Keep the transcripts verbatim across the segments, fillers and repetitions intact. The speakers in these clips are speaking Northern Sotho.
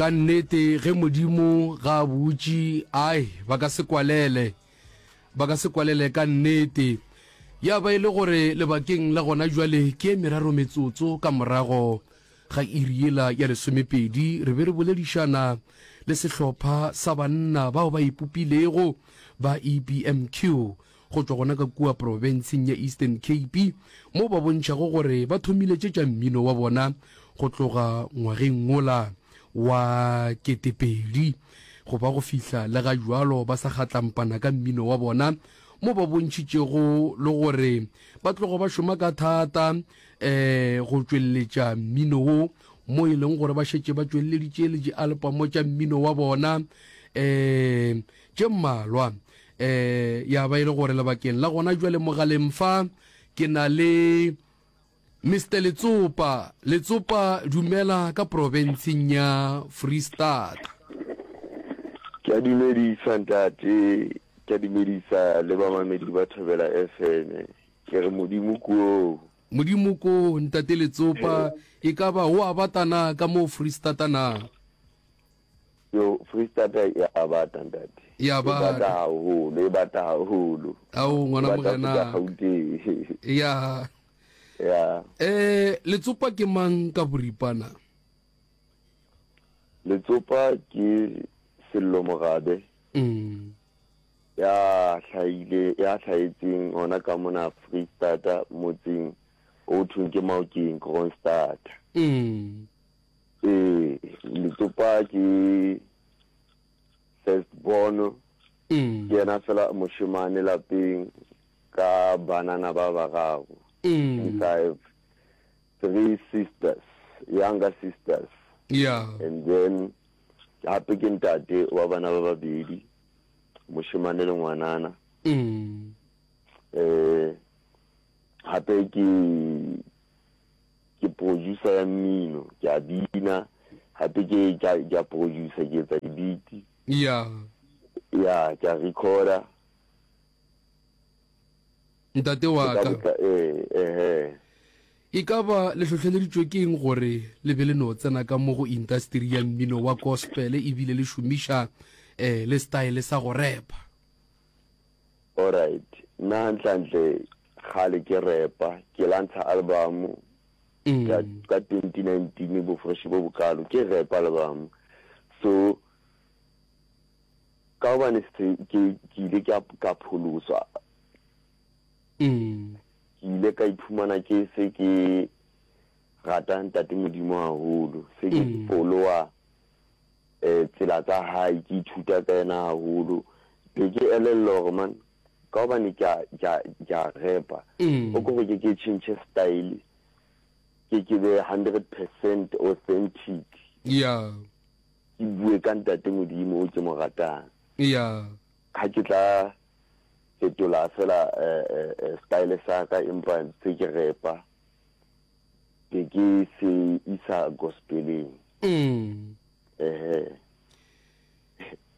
Ka nnete ge Modimo ga a butše, ai, ba ka se kwalele. Ba ka se kwalele ka nnete. Ya ba e le gore lebakeng la gona jwale ke e meraro metsotso ka morago ga iri yela ya lesomepedi, re be re boledišana le sehlopha sa banna bao ba ipopilego ba E B M Q go tšwa gona ka kua profenseng ya Eastern Cape, mo ba bontšhago gore ba thomile tše tša mmino wa bona go tloga ngwageng wola wa ketepedi go ba go fihla le ga jwalo ba sa kgatlampana ka mmino wa bona, mo ba bontšhitšego le gore ba tlogo ba šoma ka thata um go tšweletša mmino wo, mo e leng gore ba šetše ba tšweleditše le dialpamo tša mmino wa bona um tše mmalwa. um ya ba e le gore lebakeng la gona jwale mogaleng fa ke na le Mister Letsopa. Letsopa, dumela ka profenseng ya Freestata. Ke a dumedisa ntate, ke a dumedisa le bamamedi ba Thobela F M. Ke re Modimo koo. Modimo ko, ntate Letsopa, e ka ba o a batana ka mo Freestata na? Yo, Freestata e a bata, ntate. Ya. E bata. Bata. Haholo, e bata haholo. Ao. E Ngwana bata go feta morena. Gauteng. Ya. Ya. um Letsopa ke mang ka boripana? Letsopa ke Sello Mogabe. mm. Ya hlahile ya hlahetseng hona ka mona Freestata, motseng o thweng ke Maokeng, Kroonstad. Mm. Ee, Letsopa ke first born. Mm. Ke yena fela moshemane lapeng ka banana ba bararo. Mm. I have three sisters, younger sisters. Ya. And then hape ke ntate wa bana ba babedi, moshemane le ngwanana. mm. eh hape ke ke producer ya mmino, ke a bina, hape ke ke a- ke a producer, ke etsa di-beat. Ya. Ya, ke a recorda. Ntate wa ka ka. Botla- eh eh E ka ba le hlohleleditšwe ke eng gore le be le no tsena ka mo go industry ya mmino wa gospel ebile le šomiša um le style sa go repa? Alright, nna hantlentle kgale ke repa, ke lantsha album ka mm. ka twenty nineteen, Bofresh bo bokalo, ke rap album. So ka gobane se ke ke ile ka ka pholoswa, Mm. ke ile ka iphumana ke se ke rata ntate Modimo haholo, se ke Mm. followa eh tsela tsa hae, ke ithuta ka yena haholo, be ke elellwa hore man, ka gobane ke a ke a ke a repa, Mm. o ko gore ke ke change style, ke ke be hundred percent authentic, ya ke bue ka ntate Modimo o ke mo ratang. Ya ga ke tla fetola fela eh, eh, eh, style sa ka, empa tse ke repa, ke ke se isa gospeleng. mm. Ehe.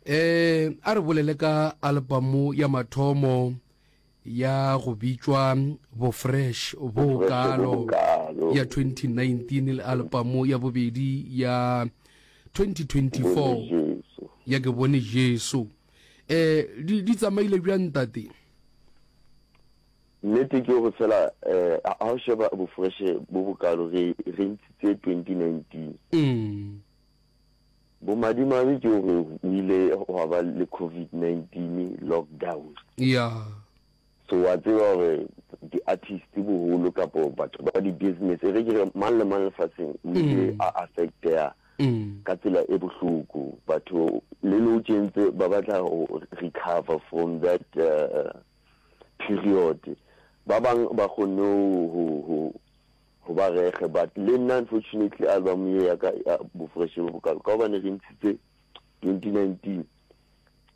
eh a re bolele ka albamu ya mathomo ya go bitšwa Bofresh bo Bofresh bo Kalo Bokalo ya twenty nineteen le albamu ya bobedi ya twenty twenty-four Bone Jesu. Ya Ke Bone Jesu. eh di di tsamaile bjang, ntate? Nnete ke gore fela um ha o sheba Bofresh bo bokalo, re re ntshitse twenty nineteen. mm. Bomadimabe ke gore o ile gwa ba le COVID nineteen lockdown. Ya so wa tseba gore di-artist boholo kapo batho ba di-business, e re ke re mang le mang lefatsheng, o ile Mm. a affecteha mm. ka tsela e bohloko. Batho le nou tjentse ba batla ho recover from that uh, period. Ba bang ba kgonne ho ho ho ba rege, but le nna unfortunately album ye ya ka ya Bofresh bo Bokalo, ka hobane re ntshitse twenty nineteen,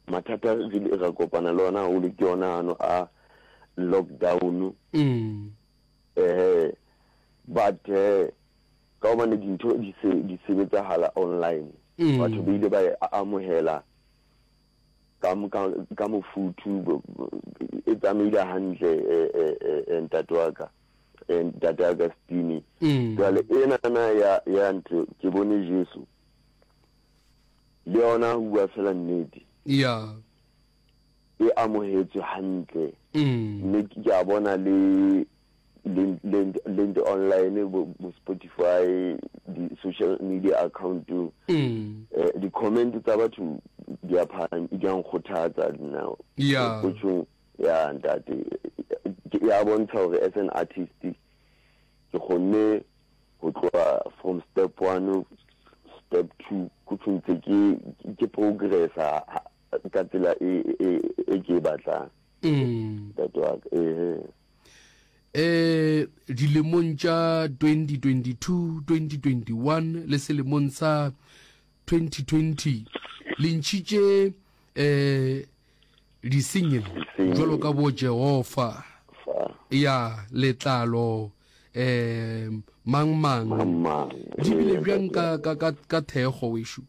mathata re ile ra kopana le ona haholo ke yona ano a lockdown. Mm. eh but eh ka hobane dintho di se di sebetsahala online, Mm. batho ba ile ba e amohela ka ka ka mofuthu, bo- bo- e tsamaile hantle, eh, eh, eh, eh, ntate wa ka, eh, ntate Augustine. Mm. Jwale enana ya ya ntho Ke Bone Jesu. Le yona ho bua fela nnete, Ya. e amohetswe hantle. Mm. Mme ke a bona le le le le online, bo, bo Spotify, di social media account, Mm. eh, di comment tsa batho di a phaham, di a nkgothatsa nna. Ya. Ho tjhong ya ntate, ke ya bontsha hore as an artist ke kgonne ho tloha from step one, step two, ko ntse ke ke progressa ka tsela e e e ke e batlang. Mm. Ntate wa ka, eh. Eh dilemong tša twenty twenty-two, twenty twenty-one le selemong sa twenty twenty le ntšhitše eh di-single jwalo ka bo Jehova, ya letlalo, eh mang mang, mang. Di bile bjang ka ka ka ka thekgo wešo?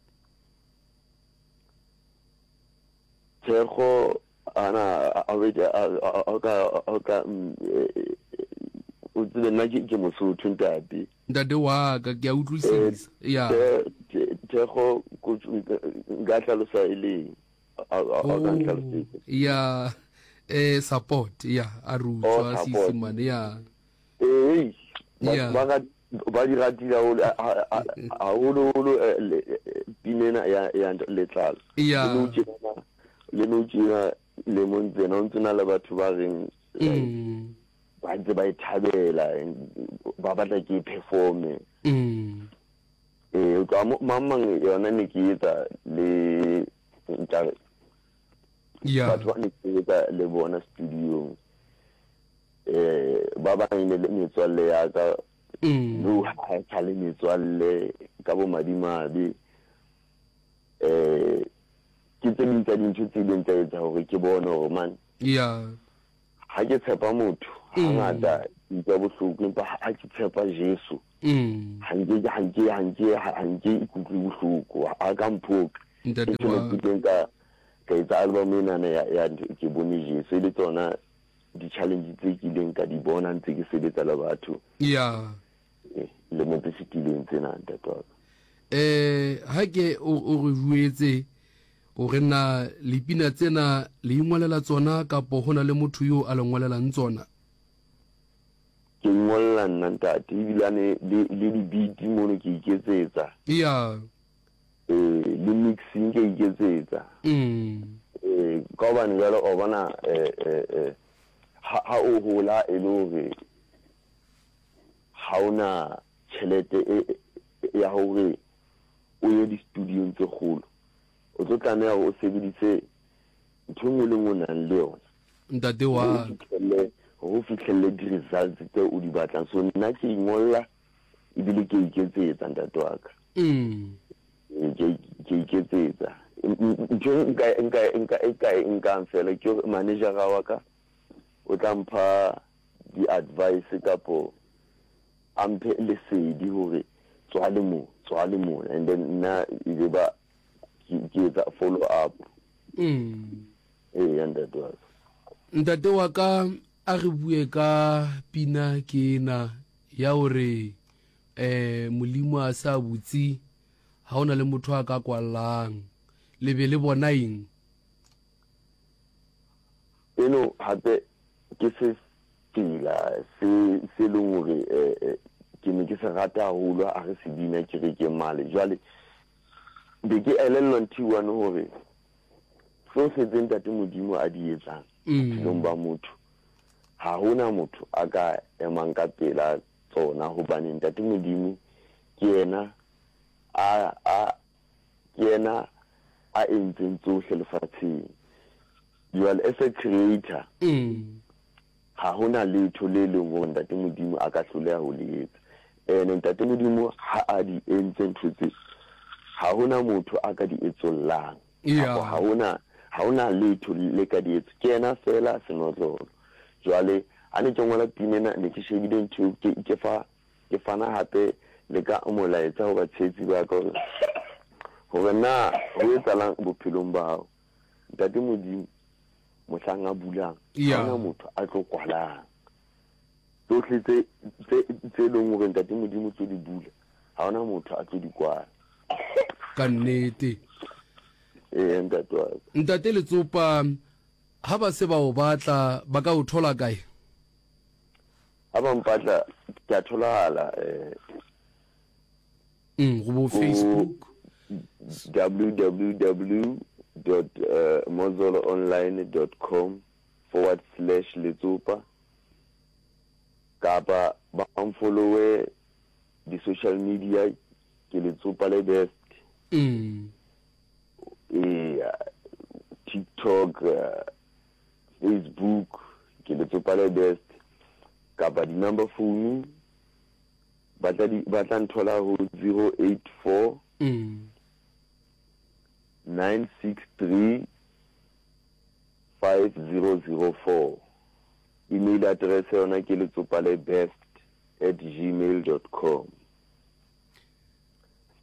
Thekgo ana a a ka a ka o tsebe nna ke ke Mosotho ntate. Ntate wa ka, ke a utlwisisa. Ya. Thekgo nka hlalosa e leng? A ka ntlhalosetsa. Ya, eh support, ya, a re utlwa Seesemane, ya. Eh, ba ba di ratile haholo haholo holo pinena ya ya letlalo. Ya. Le no tjena le mo ntsena o ntse na le batho ba reng ba ntse ba e thabela, ba batla ke performe. Mm. Eh, ka mang mang yona ne ke etsa le nka Ya. batho ba ne ke etsa le bona studio. Eh, ba bang ne le metswalle ya ka. Mm. No ha ka le metswalle ka bo madimabe. Eh, ke tse ding tsa dintho tse ileng tsa etsa hore ke bone hore man, Ya. ha ke tshepa motho hangata ke utlwa bohloko, empa ha ke tshepa Jesu, Mm. ha nke ha nke ha nke ha nke ikutlwe bohloko, ha ka mphoka. Ntate Ke wa ke ileng ka ka etsa album ena ya ya ke bone Jesu, e le tsona di-challenge tse ke ileng ka di bona ntse ke sebetsa le batho. Ya. Le mo tse fetileng tsena ntate wa ka. Eh, ha ke o o re jwetse o re na lipina tsena le ingwalela tsona kapo hona le motho yo a le ngwalelang tsona? Ke ngolla nna ntate, ebilane le le di-beat mono ke iketsetsa. Ya. Eh, le mixing ke iketsetsa. Mm. Eh, ka hobane jwale o bona, eh, eh, eh, ha, ha o hola e le hore ha ona tjhelete e, e, ya hore o ye di-studio-ong tse kgolo, o tlo tlameha hore o sebedise ntho e nngwe le nngwe o nang le yona. Ntate wa Hore o fihlelle, hore o fihlelle di-results tse o di batlang. So nna ke ingolla ebile ke iketsetsa ntate wa ka. Mm. Ke, ke iketsetsa. Ntho e nka, nka, nka, e ka e nkang fela ke hore manager-a wa ka o tla mpha di-advice kapo a mphe lesedi hore tswa le mo, tswa le mo, and then nna e be ba ke, ke etsa follow up. Mm. Ee, ntate wa ka. Ntate wa ka, a re bue ka pina ke ena ya hore, eh, Molimo a sa butse, ha hona le motho a ka kwallang. Le be le bona eng? Eno hape ke se tsela se, se leng hore, eh, eh, ke ne ke se rata haholo ha re se bina kerekeng male. Jwale be ke elellwa ntho e one hore tsohle tse ntate Modimo a di etsang Mm. bophelong ba motho, ha hona motho a ka emang ka pela tsona, hobane ntate Modimo ke yena a, a, ke yena a entseng tsohle lefatsheng. Jwale as a creator, Mm. ha hona letho le leng hore ntate Modimo a ka hloleha ho le etsa. Ene ntate Modimo ha a di entse ntho tse, ha hona motho a ka di etsollang. Yeah. Kapa ha hona, ha hona letho le ka di etsa. Ke yena fela senotlolo. Jwale ha ne ke ngola pina ena, ne ke shebile ntho eo, ke, ke fa, ke fana hape le ka molaetsa ho batshehetsi ba ka hore, hore na ho etsahalang bophelong ba hao. Ntate Modimo mohlang a bulang, Yeah. ha hona motho a tlo kwalang. Tsohle tse, tse, tse leng hore ntate Modimo tlo di bula, ha hona motho a tlo di kwala. Ka nnete. Ee, ntate wa ka. Ntate Letsopa, ha ba se ba o batla ba ka o thola kae? Ha ba mpatla ke a tholagala eh Mm, go bo Facebook. www dot mozoloonline dot com forward slash letsopa kapa ba mfollowe di-social media ke letsopa le best Mm. eya tiktok uh, facebook ke letsopa le best kapa di-number phone ba tla di ba tla nthola ho zero eight four Mm. nine six three five zero zero four email address yona ke letsopa le best at gmail dot com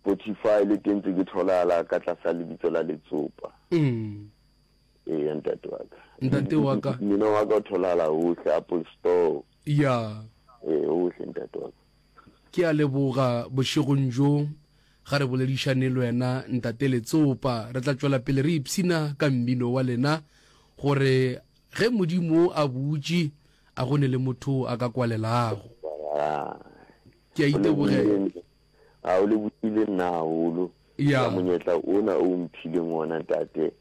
spotify le teng tse ke tholala ka tlasa lebitso la letsopa Mm. ee ntate wa ka Ntate wa ka. mmino wa ka o tholala hohle apple store Ya. ee hohle ntate wa ka Ke a leboga bošegong bjo ga re boledišane le wena ntate Letsopa. Re tla tšwela pele re ipshina ka mmino wa lena gore ge Modimo a butše a go ne le motho a ka kwalelago. Ah. Ke a itebogela. A o lebogile nna haholo Ya. ka monyetla ona o mphileng ona ntate.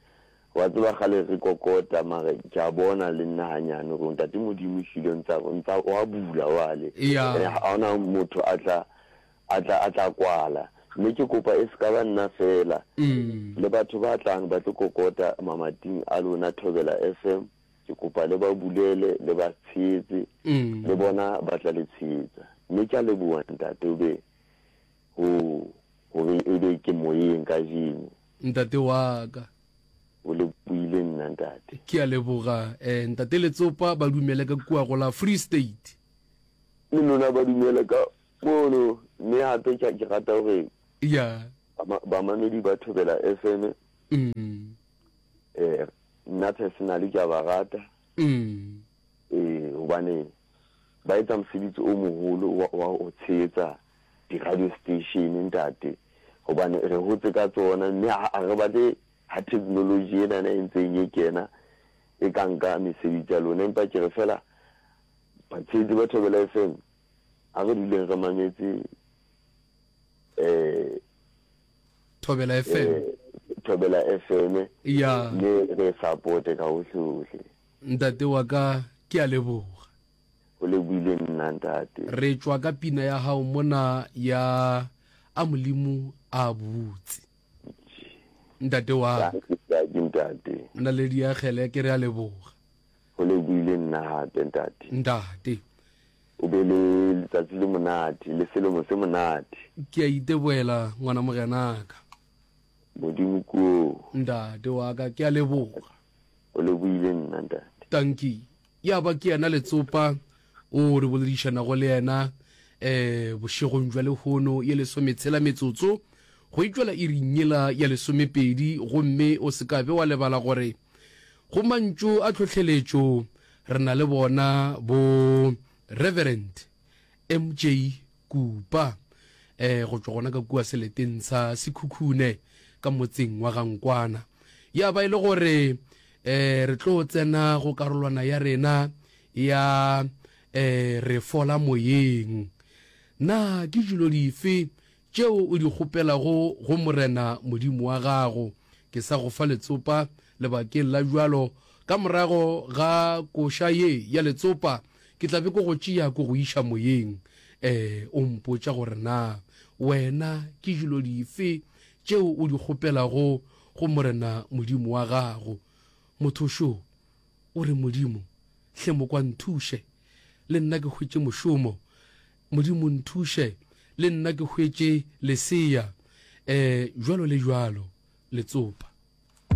Wa tseba kgale re kokota mare ke a bona le nna hanyane gore ntate Modimo ehlile ntsa ntsa wa bula wale. Ya. Ene ha hona motho a tla a tla a tla kwala. Mme ke kopa e se ka ba nna fela. Mm. Le batho ba tlang ba tlo kokota mamating a lona Thobela F M ke kopa le ba bulele le ba tshehetse Mm. le bona ba tla le tshehetsa. Mme ke a leboha ntate o be ho hore e be ke moyeng kajeno. Ntate wa ka. O lebohile nna ntate. Ke a leboga eh ntate Letsopa ba dumele ka kua go la Free State. Le lona ba dumele ka mono mme hape ke ke rata hore Ya. bamamedi ba Thobela F M Mm. eh nna personally ke a ba rata. Mm. Eh hobane ba etsa mosebetsi o moholo wa wa ho tshehetsa di-radio station ntate hobane re hotse ka tsona mme ha re batle ha technology ena e ntseng e kena e ka nka mesebetsi ya lona empa ke re fela batshehetsi ba Thobela F M ha re duleng re mametse eh Thobela F M eh, Thobela F M ya le re support ka hohle hohle. Ntate wa ka ke a leboga. O lebohile nna ntate. Re tšwa ka pina ya hao mona ya a Molimo a butse. Ntate wa ka. Ke ntate. Naledi ya kgele ke re a leboga. O lebohile nna hape ntate. Ntate. O be le letsatsi le monate le selemo se monate. Ke a iteboela ngwana morenaka. Modimo ko. Ntate wa ka ke a leboga. O lebohile nna ntate. Tanki. Ya ba ke yena Letsopa o re boledišanago le yena eh bošegong jwa lehono ye lesometshela metsotso go itšwela iring yela ya lesomepedi gomme o se ka be wa lebala gore go mantšu a tlhohleletšo re na le bona bo Reverend M J Kupa eh go tšwa gona ka kua seleteng sa Sekhukhune ka motseng wa Gankwana. Ya ba e le gore eh re tlo tsena go karolwana ya rena ya eh re fola moyeng. Na ke dilo dife tšeo o di kgopelago go Morena Modimo wa gago? Ke sa go fa letsopa lebakeng la jwalo ka morago ga koša ye ya letsopa ke tla be ke go tšea ko go iša moyeng. Eh o mpotša gore na wena ke dilo dife tšeo o di kgopelago go Morena Modimo wa gago? Motho šo o re Modimo hle mo kwa nthuše le nna ke hwetše mošomo, Modimo nthuše le nna ke hwetše lesea, eh jwalo le jwalo. Letsopa.